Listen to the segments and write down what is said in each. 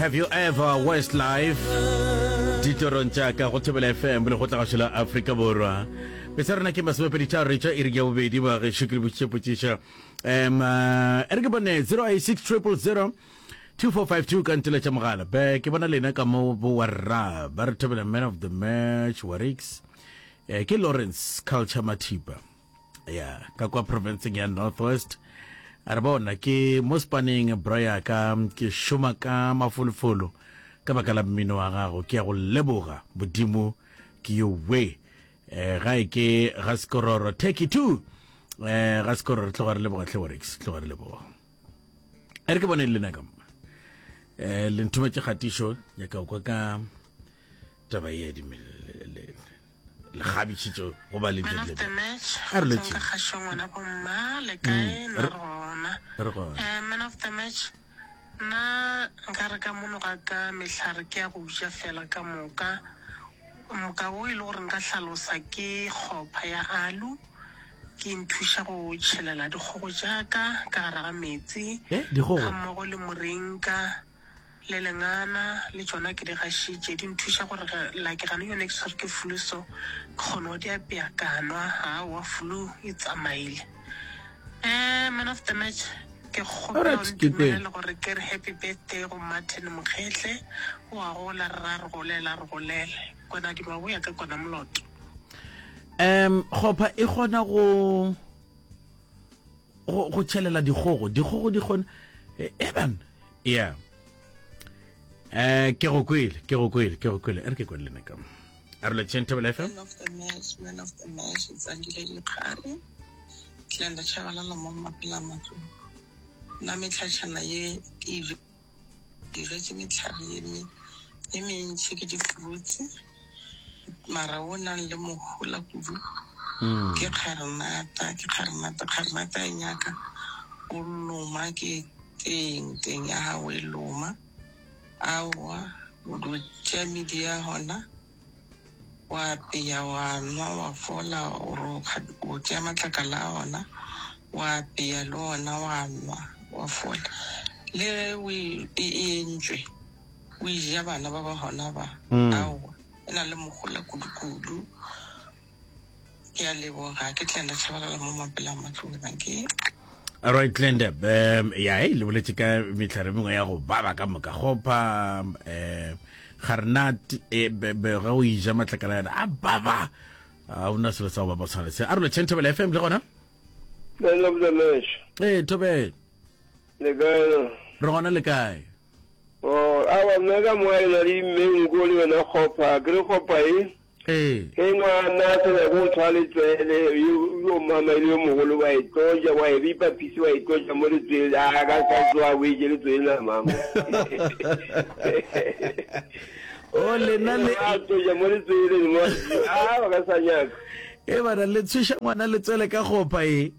Have You Ever Westlife ditorong tša ka go Thobela FM le go tla gašo la Afrika Borwa. Pesa rena ke masomepeditharo re tšwa iri ya bobedi ba gešo ke le botšiša potšiša. Um e re ke bone 086 000 2452 ka ntela tša mogala. Be ke bona lena ka mo bo warra ba re thobela man of the match Warix. Eh, ke Lawrence Culture Mathipa. Ya ka kwa provinceng ya Northwest. A re bona ke mo spaneng bra ya ka ke šoma ka mafolofolo ka baka la mmino wa gago ke ya go leboga modimo ke yo we eh gae ke ga sekororo turkey 2 eh ga sekororo tloga re leboga hle Warix tloga re leboga e re ke bone le nna ka mo eh le nthometše kgatišo nyaka go kwa ka taba ye di lekgabišitšo go ba le Man of the match, A re go tswang letšeng. ka kgašong ngwana bomma le kae Mm, nna re- re gona re gona. Eh, man of the match nna nka re ka mono ga ka mehlare ke ya go ja fela ka moka moka wo e le gore nka hlalosa ke kgopha ya alu ke nthuša go tšhelela dikgogo tša ka ka gare ga metsi Eh, dikgogo? ga mmogo le morinka Le lengana le tšona ke di gašitše, di nthuša gore ge like gane yone ke tshwerwe ke flu so ke kgone go di apea ka nwa, aowa flu e tsamaile. Eh, man of the match, ke kgopela o Alright, ke kwele. ntumelele gore ke re happy birthday go Martin Mokgehle, o a gola re ra re golela re golele. Kona di maboya ka kona moloto. Um kgopha e kgona go go go tšhelela dikgogo dikgogo di kgona eban yeah eh ke go kwele ke go kwele ke go kwele e re ke kwele lena ka a re letšeng thobela fm Man of the match, man of the match, Tsandile Dikgare, Tlenda Chabalala mo Mapela Matlou. Nna metlhatšhana ye ke e Ke jetse mehlare ye me ye mentši ke di-fruits, mara wo nang le mohola kudu ke kgarenata, ke kgarenata. Kgarenata e nyaka o loma ke teng, teng ya gago e loma. Aowa, o do tšea medi ya gona wa apeya wa nwa wa fola, or o tšea matlakala a ona wa apeya le ona wa nwa wa fola. Le ge o e e entšwe o e ja bana ba ba gona ba, aowa e na le mohola kudu-kudu. Ke a leboga, ke Glenda Tshabalala mo Mapela Matlou, dankie. Alright Glenda, um ya hey le boletše ka mehlare mengwe ya go baba ka moka gopa um garnat e be be ge o ija matlakala yana a baba a ona selo sa go baba tshwana se a re lotšheng Thobela FM le gona Man of the match. ee Thobela Le kae na? re gona le kae Oh, awa nna ka moa e na le menko le yona kgopha. Ke re kgopha e. Ee. Ge ngwana a sa nyake go tshwara letswele, yo yo mama e le yo mogolo wa e tloja, wa e ripa phisi wa e tloja mo letswele, a ka sa tsoa o e je letswele la mama. O lena le a tloja mo letswele mo a ba ka sa nyaka. E bana le tshweša ngwana letswele ka kgopha e.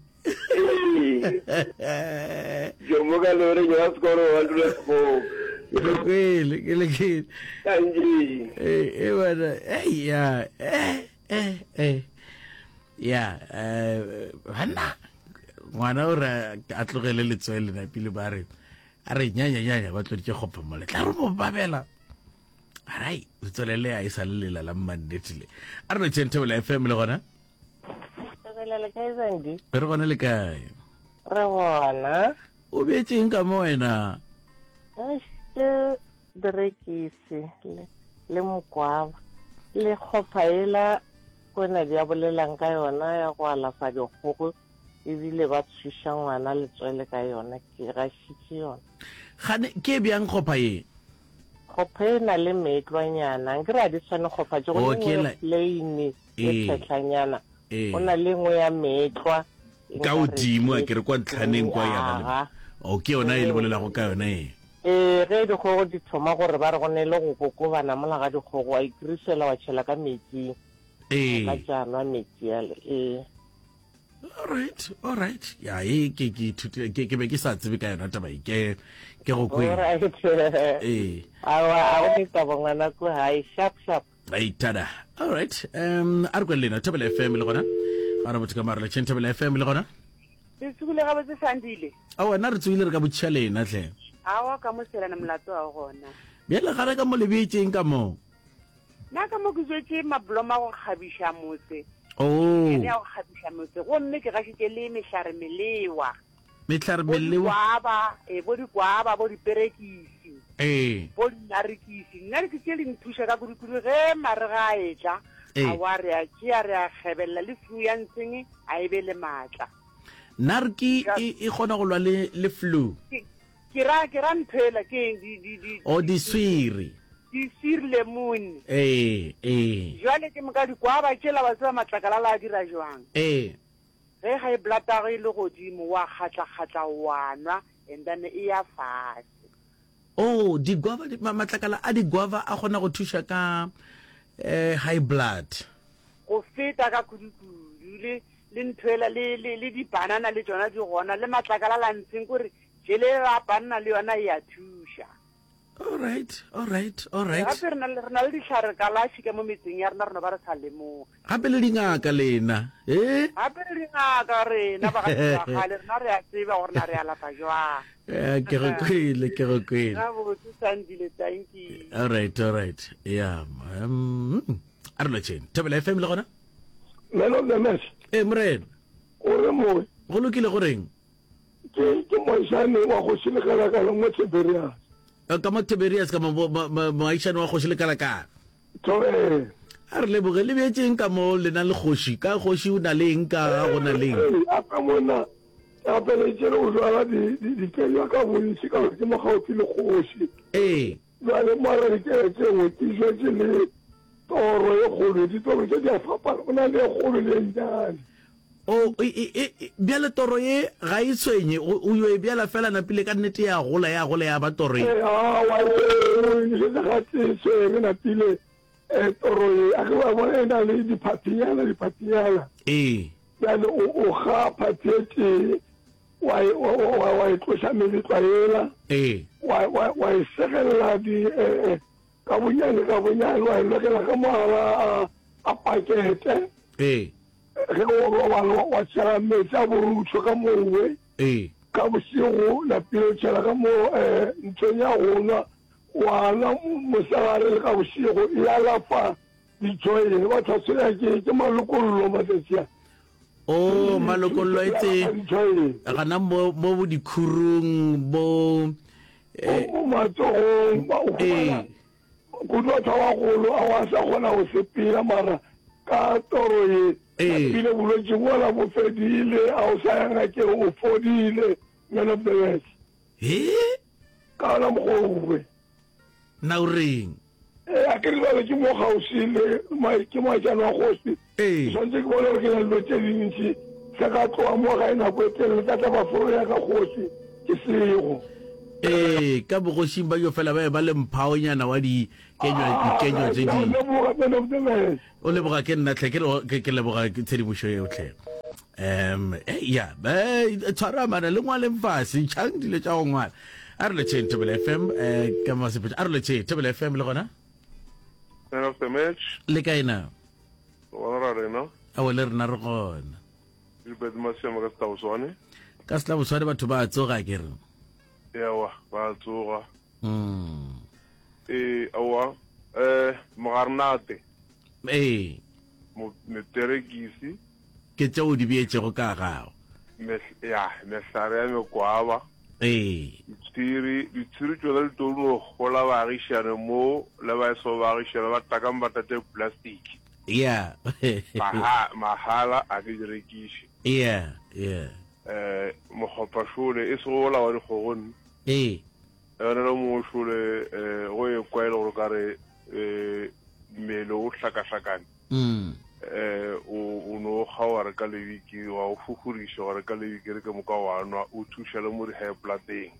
Ee. Jomo ka lore nyoga sekoro wa dula go. Ke le kwele, ke le kwele. Kanji. Eh, eh bana, eh ya, eh eh eh. Ya, eh bana. Ngwana o re a tlogele letswele na pele ba re a re nyanya nyanya ba tloditše kgopha mo le tla re mo babela. Arai, letswele le a e sa le lela la mmannete le. A re lotšheng Thobela FM le gona. Thobela le kae Zandi? Re gona le kae? Re gona. O beetseng ka mo wena? Ke berekisi le, le mokwaba le kgopha ela kwena di a bolelang ka yona ya go alafa dikgogo ebile ba tshwiša ngwana letswele ka yona ke gašitše yona. Gane ke bjang kgopha ye? Kgopha e na le meetlwanyana nkere a di tshwane kgopha tše go Oh, ne ke nngwe ela plain e Ee. tshetlanyana Ee. go na le nngwe ya meetlwa e Ka nkare godimo a ke ke re kwa ntlhaneng kwa ya ba le aga. O ke yona e le bolelago ka yona e. Ee, ge dikgogo di thoma gore ba re go ne le go kokobana mola ga dikgogo wa ikrisela wa tšhela ka metsing. Ee. Ka tša nwa metsi ale. Ee. All right, all right. Ya e ke ke ithutile ke ke be ke sa tsebe ka yona taba e ke ke go kwele. All right. Ee. Awa a go ne taba ngwana ko hae sharp sharp. Aitada. All right. Um a re kwele lena Thobela FM le gona. Ga re botho ka mara le Thobela FM le gona. Le tsogile gabotse Sandile? A wena re tsogile re ka botšiša lena hle. Awa ka mo selana molato wa gona. Bjale gare ka mo le beetšeng ka mo? Nna ka mo ke jwetše mablomo a go kgabiša motse. Oh. Ene ya go kgabiša motse. Gomme ke gašitše le mehlare melewa. Mehlare Bo melewa. dikwaba, eh, bo dikwaba, bo diperekisi. Ee. Bo dinarikisi. Nna ke tše di nthuša ka kudu-kudu ge marega a etla. Ee. Aowa re a tšea re a kgebelela le flu ya ntseng a e be le maatla. Narki e, e kgona go lwa le, le flu. Ke, ke ra, ke ra ntho ela, ke eng, di, di, di, O diswiri. Diswiri lemon. Ee, ee. Jwale ke moka dikwaba tšela wa tseba matlakala la a dira jwang? Ee. Ge high blood ya gago e le godimo wa kgatla-kgatla wa nwa and then e ya fase. Oh, di-guava, matlakala a di-guava a kgona go thuša ka eh, high blood. Go feta ka kudu-kudu le le ntho ela le le le di-banana le tšona di gona le matlakala la ntsheng kore jele ya banana le yona e a thuša. All right, all right, all right. Gape re na le re na le dihlare kalafi ka mo metseng ya rena re no ba re sa lemoge. Gape le dingaka lena, eh? Gape le dingaka rena ba ga kgale rena re a tseba gore na re alafa jwang. Eh, ke go kwele, ke go kwele. Gabotse Sandile, thank you. All right, all right. Yeah. Um, a re lotšheng. Thobela FM le gona? Man of the match. Eh, morena. O re moe. Go lokile go reng? Ke ke moagišane wa kgoši Lekalakala mo Tiberias. Eh, ka mo Tiberias ka mo moagišane wa kgoši Lekalakala. To eh. A re leboge le beetšeng ka mo lena le kgoši ka kgoši o na le eng ka ga go na le eng. A ka mona gapeletše le go jwala dikenywa ka bontši ka gore ke mo gaufi le kgoši. Ee. Bjale mara dikenywa tše nngwe ke jwetše le toro e kgolo, ditoro tše di a fapana, go na le e kgolo le e nnyane. O, e, e, e, bjale toro ye ga e tshwenye, o, o yo e bjala fela napile ka nnete ya gola, ya gola ya ba toro ye. Ee, aowa, e, o e nošetša gatee e tshwere napile, e, toro ye. A ke wa bona e na le diphathinyana, diphathinyana. Ee. Bjale o, o ga phathi e tee, wa e, wa, wa, wa e tloša meletlwa yela. Ee. Wa, wa, wa e segelela di, e, e, ka bonyane, ka bonyane, wa e lokela ka mogara a, a pakete. Ee. Ge o robala wa tšhela meetse a borutho ka mowe. Ee. Ka bošego napile o tšhela ka mo eh, nthong ya go nwa wa nwa mosegare le ka bošego e alafa dijoyene batho ba tshwenya ke ke malokollo matsatsi a. O malokollo e tse gana mo mo bo dikhurung bo eh, mo matsogong ba o ee. Kudu batho ba bagolo a wa sa kgona go sepela mara ka toro ye Ee. bile bolwetši bola bo fedile a o sa ya ngakeng o fodile man of the match He? ka ona mokgwa owe Na o reng? ee a ke re bjale ke mo kgauswi le ma- ke moašane wa kgoši Ee. ke swanetše ke bone gore ke na le dilo tše dintši se ka tloga mo gae nako e telele ka tla ba foro ya ka kgoši ke sego Ee, ka bogošing ba yo fela ba e ba le mphaonyana wa dikenywa dikenywa tše di. leboga man of the match O leboga ke nna tlhe ke re ke ke leboga ke tshedimošo eo tlhe. Um eh, ya eh, tshwara mana le ngwaleng fase ntšhang dilo tša go ngwala. A re letšheng Thobela FM eh ka masepetša. A re letšheng Thobela FM le gona. Man of the match. Le kae na? Gona ra rena. Awe le rena re gona. Gilbert Masiama ka Setlaboswane. Ka Setlaboswane batho ba tsoga ke re. Ewa, ba tsoga. Mm. Ee, aowa. Eh, mogarnate. Ee. Meperekisi. Ke tšeo di beetšego ka gago. Ya, mehlare ya mekwaba. Ee. Ditshwiri, ditshwiri tšona di tlo no gola baagišane mo le ba eso baagišane ba takang ba tate plastic. Yeah. Maha, mahala a ke di rekiše. Yeah, yeah. Eh, mokgopa šole e sego ola wa dikgogo Ee. Yona le mongwe šole eh go e kwa e le gore ka re eh mmele o hlakahlakane. Mm. Eh o o no ga wa re ka lebiki wa o fufuriša wa re ka lebiki re ke moka wa nwa o thuša le mo di high bloodeng.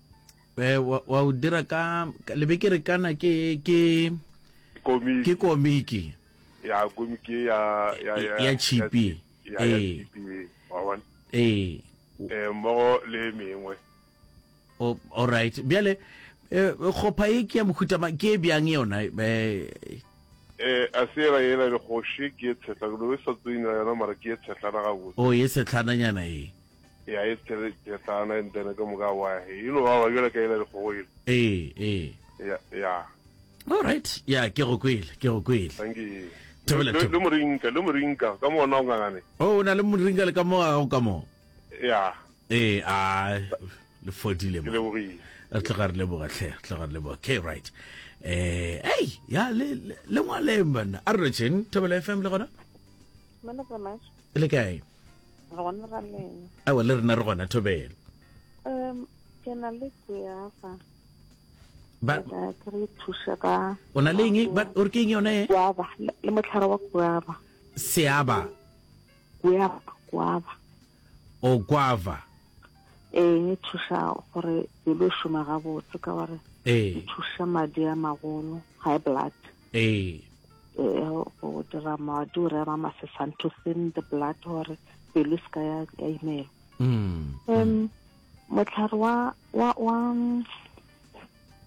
Eh wa wa o dira ka lebekere kana ke ke komiki. Ke komiki. Ya komiki ya ya ya ya chipi. Ya ya chipi wa bona. Ee. Eh mmogo le mengwe. Oh, all right. Bjale eh kgopha e ke ya mohuta mang ke e bjang yona eh Eh a se yela yela le kgoši ke e tshehla ke no e sa tsena yona mara ke e tshehlana gabotse. Oh e sehlananyana e. Ya e tshehlana and then ka moka wa e no ba ba bjale ka yela dikgogo ele. Ee ee. Ya ya. All right. Ya, ke go kwele, ke go kwele. Thank you. Thobela, Le, thobela. le morinka, le morinka, ka mo ona o ngangane. Oh, o na le moringa le ka mo ga gago ka mo. Ya. Ee, a le fodile Ke mo. lebogile. Re tloga re leboga hle, re tloga re leboga. Okay, right. Eh, hey, ya le le le ngwaleng banna. A re lotšheng, Thobela FM le gona? Mona Tsamaiso. Le kae? Re gona ra lena. Aowa le rena re gona Thobela. Um, ke na le guava. Ba Ke re thuša ka O na le eng? Ba o re ke eng yona e? Guava, le mohlare wa guava. Seaba. Guava, guava. O guava. Ee, e thuša gore pelo e šoma gabotse ka gore Ee. e thuša madi a magolo, high blood. Ee. Ee, go dira madi gore a ba masesane to thin the blood gore pelo e se ka ya ya imelwa. Mm. Um, mohlare wa wa wa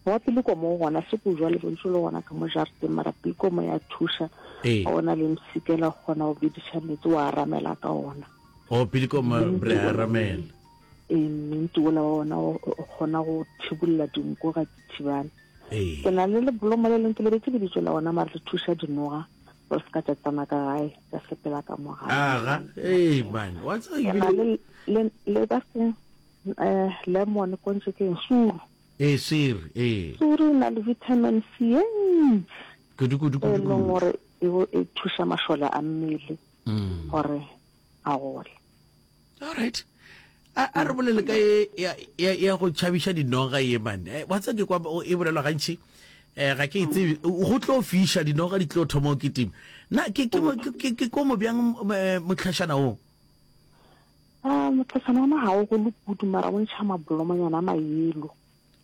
wa pilikomo o gona se ko jwale bontši le gona ka mo jarateng mara pilikomo ya thuša Ee. ga o na le msikela o kgona go bediša meetse wa aramela ka ona O pilikomo re a ramela. ee mminti ola wa ona o o kgona go thibolla dinko ga di thibane Ee. ke na le lebolomo le leng ke lebetse lebitso la ona mara le thuša dinoga gore se ka tša tsena ka gae tša sepela ka mo gae Aga, ee man, wa tseba ke na ebile le le le ba se eh lemon kontse ke eng? suru ee sere ee suru e na le vitamin C e ntši kudu kudu e kudu leng kudu. gore e bo- e thuša mašole a mmele Mm. gore a gole All right. A a re bolele ka e ya ya ya go tšhabiša dinoga ye man. Eh, wa tseba ke kwa o- e bolelwa gantši. Eh ga ke e tsebe go tlo fiša dinoga di tlo thoma go kitima. Na ke ke mo- ke ke- ke komo bjang eh, mohlašana wo? A mohlašana ona ga o gole kudu mara o ntšha mabolomonyana a mayelo.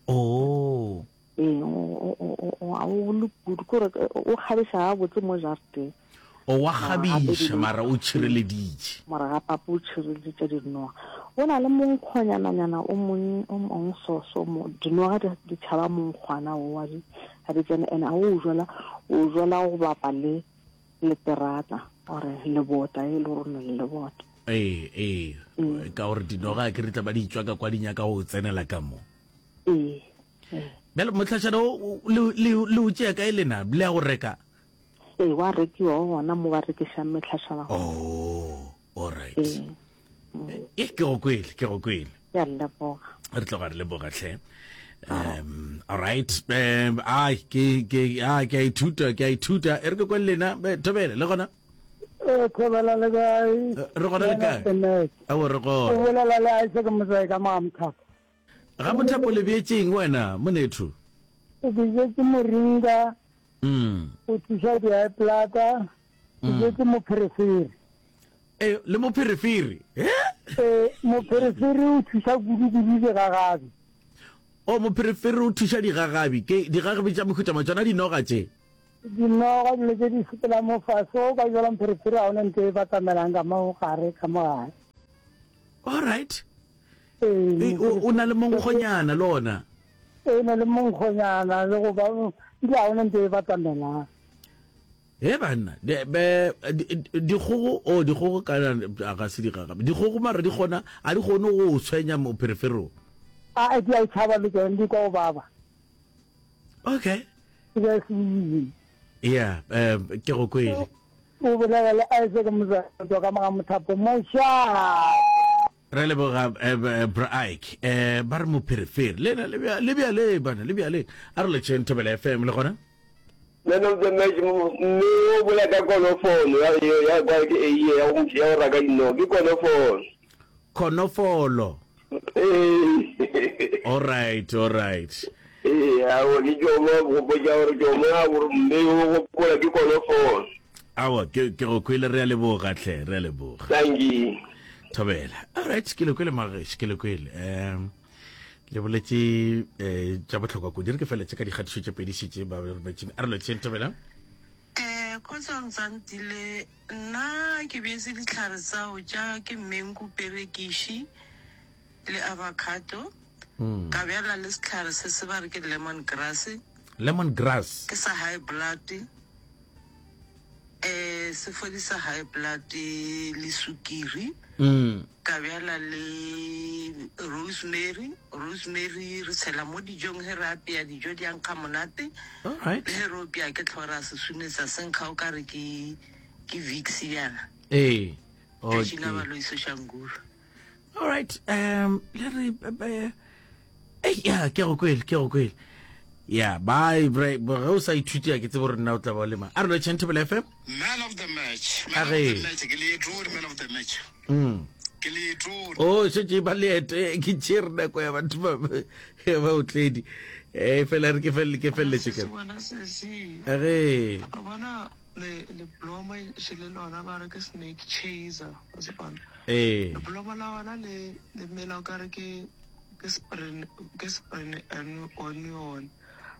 Oh. Ee, ga o gole kudu kore o kgabiša gabotse mo jarateng. O wa kgabiša mara o tšhireleditše. Mara ga papa o tšhireleditše dinoga. Go na le monkgonyananyana o mong o mong so so mo dinoga di di tšhaba monkgwana o wa di ga di tsene ene a o jwala o jwala go bapa le le terata ore lebota e le gore o na le lebota. Ee, ee, ka gore dinoga ke re tla ba di tšwa ka kwa di nyaka go tsenela ka mo. Ee. ee. Bjale mohlašana o le le le o tšea kae lena le ya go reka? Ee, wa rekiwa o gona mo ba rekišang mehlašana. Oh, all right. Ee. E ke go kwele, ke go kwele. Ke a leboga. Re tloga re leboga hle. Um, all right. Um, ai ke ke a ke a ithuta, ke a ithuta. E re ke kwe le lena, Thobele le gona. Eh, Thobela le kae? Eh, re gona le kae? Awo re O gona. bolela le Isaac Motsae ka mo Mothapo. Ga Mothapo le beetšeng wena monetho? O beetše moringa. Mm. O thuša di-high blood. O mm. beetše mopherefere. Eh, le mopherefere. Eh? Eh, mopherefere o thuša kudu-kudu digagabi. O mopherefere o thuša digagabi. Ke digagabi tša mehuta ma tšona dinoga tše. Dinoga dilo tše di sepela mo fase o ka jala mpherefere ga ona ntho e batamelang ka mo gare ka mo gare. All right. Ee, o na le monkgonyana le ona. Ee, na le monkgonyana le go ba ile ga ona ntho e batamelang. He banna, dikgogo o dikgogo kana ga se digagabi. Dikgogo mara di kgona a di kgone go tshwenya mopherefere o. A di a e tšhaba le tšona di kwa go baba. Okay. Ke se Yeah, um ke go kwele. O bolela le Isaac Mozatwa ka moga mothapo mošate. Re leboga eh, eh, bra Ike. Eh, ba re mopherefere. Le na le bja le bjale bana, le bjale. A re letšeng Thobela FM le gona. Man of the match mme o bolela ka konofono ya ya kwa ke eiye ya go ya go raka dino ke konofono. Konofolo. Ee. All right, all right. Ee, aowa ke tšomo go botša gore tšomo ya gore mme o gopola ke konofono. Aowa ke ke go kwele re a leboga hle, re a leboga. Dankie. Thobela. All right, ke le kwele magešo, ke le kwele. Um le boletše eh tša bohlokwa kudu. Re ke feletše ka dikgatišo tše pedi šetše ba rometšeng. A re lotšheng Thobela. Eh, kgotsa Ntsantile, nna ke bjetse dihlare tsao tša ke mengu, perekiši le avocado. Ka bjala le sehlare se se ba re ke lemon grass. Lemon grass. Ke sa high blood. Eh, se fodisa high blood le sukiri. Mm. Ka bjala le rosemary, rosemary re tshela mo dijong ge re apea dijo di a nkga monate. Alright. Le ge re opea ke tlhogo ra se sunetsa se nkga o ka re ke ke Vicks bjana. Ee. Tšatši la Okay. baloi Soshanguve. All right. Um le re eh, eh, ya ke go kwele, ke go kwele. Ya, bye bre, ge o sa ithute ya ke tsebe gore nna o tla ba o le mang. A re lo Thobela FM. Man of the match. A Man of ge. the match. Ke leetong man of the match. Mm. Ke leetong. O šetše ba leeto eh, ke tšere nako ya batho ba ba ba otledi. Eh fela re ke fele ke feleletše ke. Sesi wena sesi. A ge. O bona le le bloma še le lona ba re ke snake chaser wa se bona. Ee. Le bloma la gona le le mela o kare ke ke spring ke spring onion.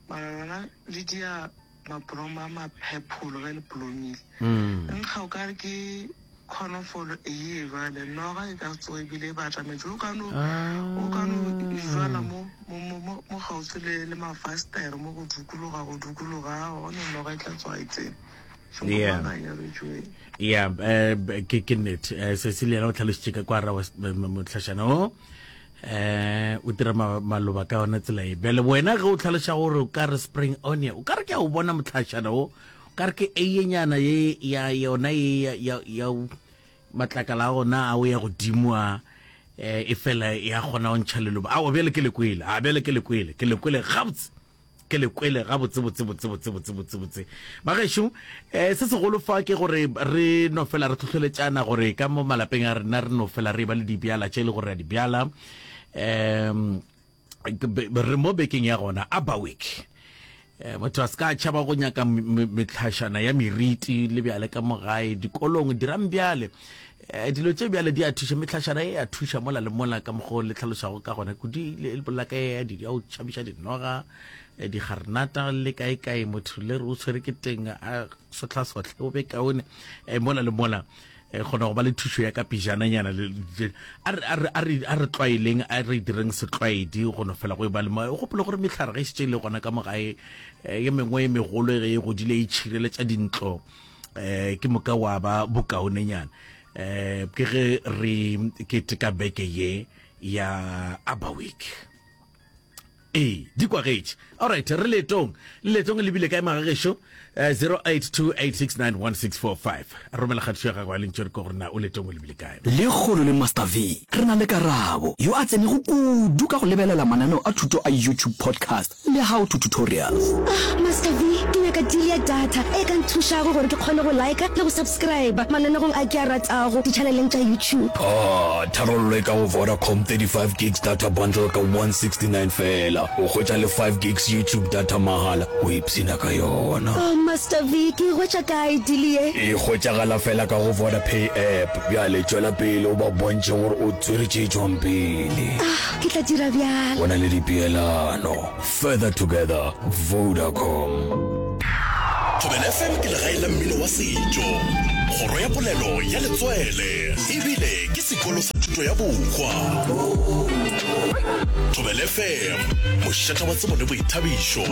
Mara lona le dia Mabromo a ma-purple ge le blomile. Mm. Nkga o ka re ke khonofolo eye jwale noga e ka tsoga ebile e batametše o ka no o ka no e jwala mo mo mo mo mo kgauswi le le mafastere mo go dukologa go dukologa aowa gone noga e tla tsoga e tsene. Yeah. Šomomanganya betšweng. ya eh, ke ke nnete eh, sesi le yena o tlhalositše ka kwa ra motlhašana o eh o dira maloba ka yona tsela e bjale wena ge o tlhaloša gore o ka re spring onion o ka re ke a o bona motlhašana o o ka re ke eyenyana ye ya yona ye ya ya ya matlakala a gona a o ya godimo a eh, e fela ya kgona go ntšha leloba aowa bjale ke le kwele a bjale ke le kwele ke le kwele gabotse Ke le kwele gabotse botse botse botse botse botse botse. Bagešo, eh, se segolo fa ke gore re no fela re hlohleletšana gore ka mo malapeng a rena re no fela re ba le dibjala tše e le gore re a di bjala. Um, re mo bekeng ya gona Aba Week. Eh, motho a se ka tšhaba go nyaka metlhašana ya meriti le bjale ka mo gae dikolong dirang bjale Eh, dilo tše bjale di a thuša, mehlašana e a thuša mola le mola ka mokgwa o le tlhalošago ka gona kudu le bolela ka ya ya go tšhabiša dinoga, eh, digarenata le kae kae motho le re o tshwere ke teng a sohlasohle o be kaone eh, mola le mola eh, kgona go ba le thušo ya ka pijananyana a re a re tlwaeleng a re direng setlwaedi go no fela go e ba le mo gopole gore mehlare ge e šetše e le gona ka mo gae ye mengwe e megolo ge e godile e tšhireletša dintlo eh ke moka wa ba bokaonenyana eh ke ge re keteka beke ye ya Aba Week ee di kwagetše alright re leetong le leetong le bile kae magagešo eh, 0828691645 romela kgatišo ya gago ya lentšu re ko gore na o leetong o lebile kae Lekgono le Master V re na le Karabo, yo a tsenego kudu ka go lebelela mananeo a thuto a YouTube podcast Le how to tutorials. Ah, Master V, ke nyaka deal ya data e ka nthušago gore ke kgone go liker le go subscriber mananegong a ke a ratago di-channeleng tša YouTube. Ah, tharollo e ka go Vodacom 35 gigs data bundle ka 169 feela. O hwetša le 5 gigs YouTube data mahala, o ipshina ka yona. Oh, Master V, ke e hwetša kae deal ye? E hwetšagala feela ka go Vodapay app. Bjale tšwela pele o ba bontšhe gore o tswere tše tšwang pele. Ah, Ke tla dira bjalo. Go na le dipeelano. Further together, Vodacom. Thobela FM ke legae la mmino wa setšo, kgoro ya polelo ya letswele, ebile ke sekolo sa thuto ya bohwa. Thobela FM, mošata wa tsebo le boithabišo.